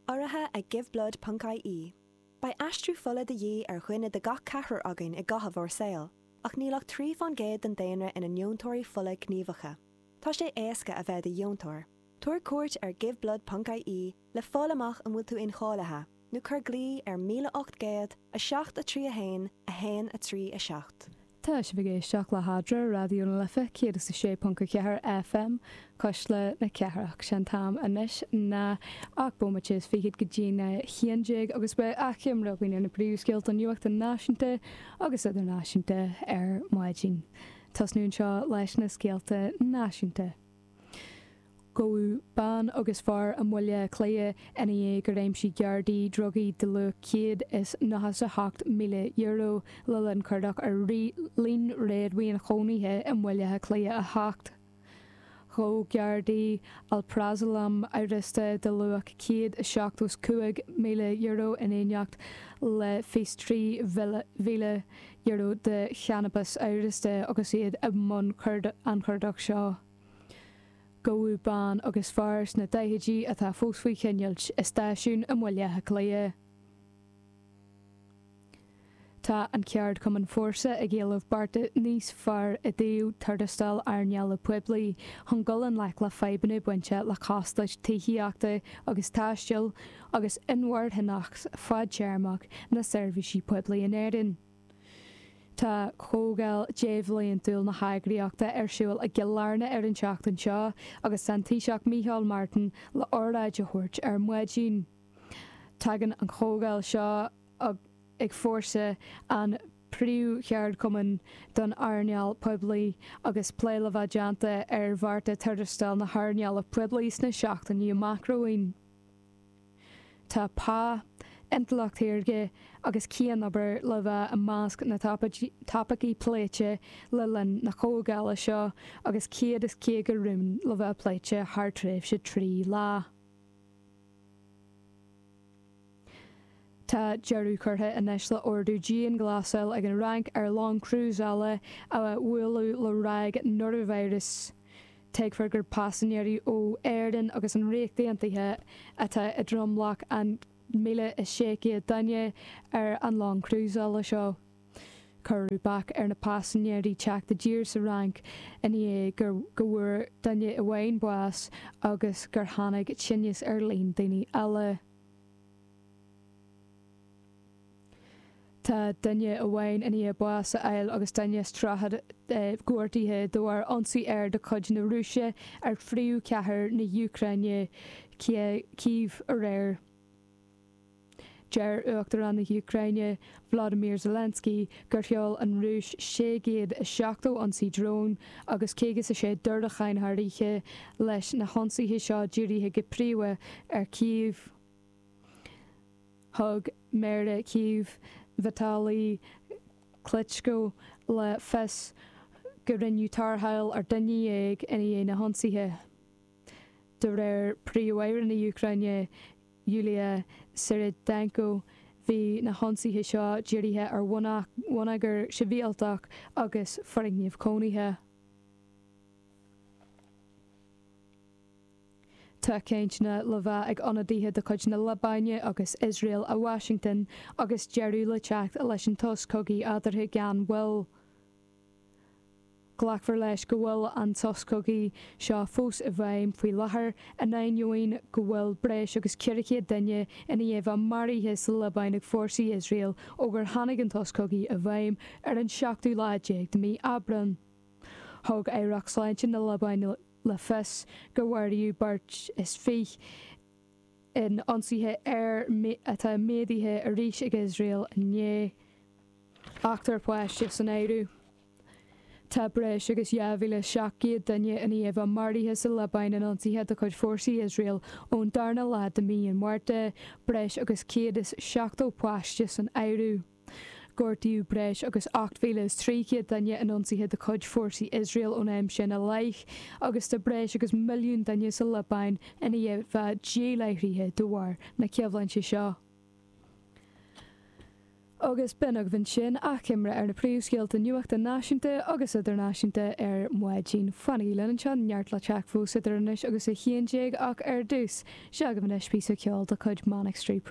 Urraithe ag Giveblood ponc ie. Beidh aistriú fola de dhíth ar dhuine de gach ceathrar againn i gcaitheamh ár saoil, ach níl ach 3 fán gcéad den daonra ina ndeontóirí fola gníomhacha. Tá sé éasca a bheith i do dheontóir. Tabhair cuairt ar Giveblood ponc ie le fáil amach an bhfuil tú incháilithe, nó cuir glao ar 1800 7 3 1 1 3 7. Tá sibh ag éisteacht le hAdra, Raidió na Life 106.4 FM, Cuisle na Cathrach. Sé an t-am anois ná 8 bomaite is fichead go dtína 11 agus beidh achoimre againn ar na príomhscéalta nuachta náisiúnta agus idirnáisiúnta ar maidin. Tosnú anseo leis na scéalta náisiúnta. Gabhadh bean agus fear i mBaile Átha Cliath ina dhiaidh gur aimsigh Gardaí drugaí de luach €198,000 le linn cuardach ar líon réadmhaoin chónaithe i mBaile Átha Cliath 8. Ghabh Gardaí alprazolam amhrasta de luach €175,000 in éineacht le €23,000 de channabas amhrasta agus iad i mbun an chuardach seo. Gabhadh bean agus fear sna daichidí atá fós faoi choinneáilt i stáisiún i mBaile Átha Cliath. Tá an ceardchumann Fórsa ag éileamh bearta níos fearr i dtaobh tuarastail earnála poiblí chun dul i ngleic le fadhbanna bainte le costais tithíochta agus taistil agus inmharthanacht fadtéarmach na seirbhísí poiblí in Éirinn. Tá comhdháil débhliantúil na heagraíochta ar siúl i gCill Airne ar an tseachtain seo agus tá an Taoiseach Micheál Martin le óráid a thabhairt ar maidin. Tagann an chomhdháil seo ag Fórsa, an príomhcheardchumann don earnáil poiblí, agus plé le bheith déanta ar bhearta tuarastail na hearnála poiblí sna seachtainí amach romhainn. Tá pá, intleacht shaorga agus cianobair le bheith i measc na dtopaicí pléite le linn na comhdhála seo agus 150 rún le bheith pléite thar tréimhse 3 lá. Tá deireadh curtha anois le ordú dianghlasáil ag an Fhrainc ar long crúsála a buaileadh le ráig noraivíreas. Tuigtear gur paisinéirí ó Éirinn agus an Ríocht Aontaithe atá i dtromlach an 1,600 duine ar an long crúsála seo. Cuireadh bac ar na paisinéirí teacht i dtír sa Fhrainc i ndiaidh go bhfuair duine amháin bás agus gur tháinig tinneas ar líon daoine eile. Tá duine amháin i ndiaidh bás a fháil agus duine is 30 gortaithe de bharr ionsaí aeir de chuid na Rúise ar phríomhchathair na hÚcráine, Cív, aréir. Deir Uachtarán na hÚcráine, Volodymyr Zelensky, gur sheol an Rúis 670 ionsaí drón agus 56 diúracán thar oíche, leis na hionsaithe seo dírithe go príomha ar Cív. Thug Méara Chív, Vitali Klitschko, le fios go rinneadh tarrtháil ar dhuine dhéag i ndiaidh na hionsaithe. De réir Príomh-Aire na hÚcráine, Yulia Svyrydenko, bhí na hionsaithe seo dírithe ar bhonneagar sibhialtach agus foirgnimh cónaithe. Tá cainteanna le bheith ag ionadaithe de chuid na Liobáine agus Iosrael i Washington agus deireadh le teacht leis an sos cogaidh eatarthu gan mhoill. Glacfar leis go bhfuil an sos cogaidh seo fós i bhfeidhm faoi láthair, in ainneoin go bhfuil breis agus 400 duine i ndiaidh bheith maraithe sa Liobáin ag fórsaí Iosrael ó gur tháinig an sos cogaidh i bhfeidhm ar an seachtú lá déag de mhí Aibreán. Thug Aireacht Sláinte na Liobáine le fios gur maraíodh beirt is 20 in ionsaithe aeir atá méadaithe arís ag Iosrael inné, ochtar páiste san áireamh. Tá breis agus 2,700 duine i ndiaidh bheith maraithe sa Liobáin in ionsaithe de chuid fórsaí Iosrael ón darna lá de mhí an Mhárta, breis agus 170 páiste san áireamh. Gortaíodh breis agus 8,300 duine in ionsaithe de chuid fórsaí Iosrael ón am sin i leith, agus tá breis agus milliún duine sa Liobáin i ndiaidh bheith díláithrithe de bharr na coimhlinte seo. Agus b'in agaibh ansin achoimre ar na príomhscéalta nuachta náisiúnta agus idirnáisiúnta ar maidin. Fanaigí linn anseo, neart le teacht fós idir anois agus a 11 ach ar dtús, seo agaibh anois píosa ceoil de chuid Manic Street.